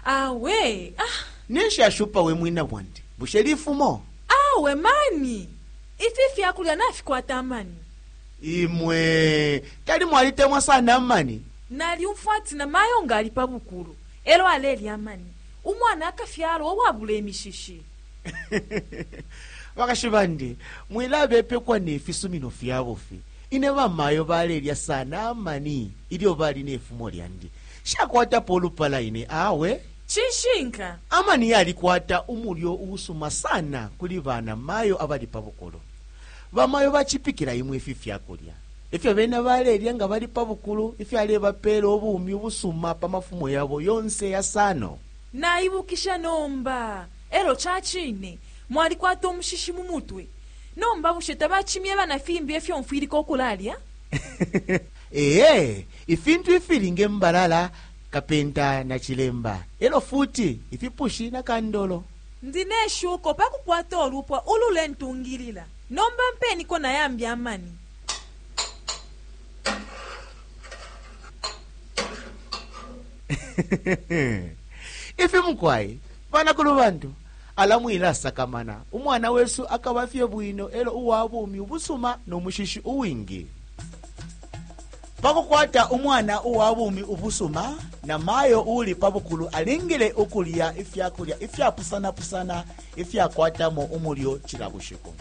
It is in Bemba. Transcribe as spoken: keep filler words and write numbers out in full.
Awe, ah, Ninshi ashupa we mwina bwandi? Bushe lifumo? Awe mani. Ifi fyakulya nafikwata amani. Imwe tali mwalitemwa sana amani. Nalyumfwa ati na mayo nga ali pa bukulu elo alelya amani, umwana akafyalwa uwabula imishishi. Bakashi bandi, mwilabepekwa ne fisumino fya bufi. Ine bamayo balelya sana amani ilyo bali ne fumo lyandi. Shakwatapo ulupala ine, awe. Cishinka. Amani yalikwata umulyo uusuma sana kuli bana mayo abali pa bukulu. Bamayo bacipikila imwe ifi fyakulya ifyo bena balelya nga bali pa bukulu, ifyalebapeela ubumi ubusuma pa mafumo yabo yonse yasano. Naibukisha nomba. Elo ca cine mwalikwata umushishi mu mutwe. Nomba bushe tabacimyeba na fimbi ifyo mfwilika ukulalya? Ee, ifintu ifili nge mbalala, kapenta na chilemba, elo futi ifipushi na kandolo. Ndi ne shuko pa kukwata ulupwa ululentungilila. Nomba mpeniko na yambi amani. Ifi mukwai banakulu bantu, ala mwilasakamana, umwana wesu akaba fye bwino elo uwa bumi ubusuma no mushishi uwingi. Pakukwata umwana uwa bumi ubusuma na mayo uli pa bukulu alingile ukulya ifyakulya ifyapusanapusana ifyakwatamo umulyo cila bushiku.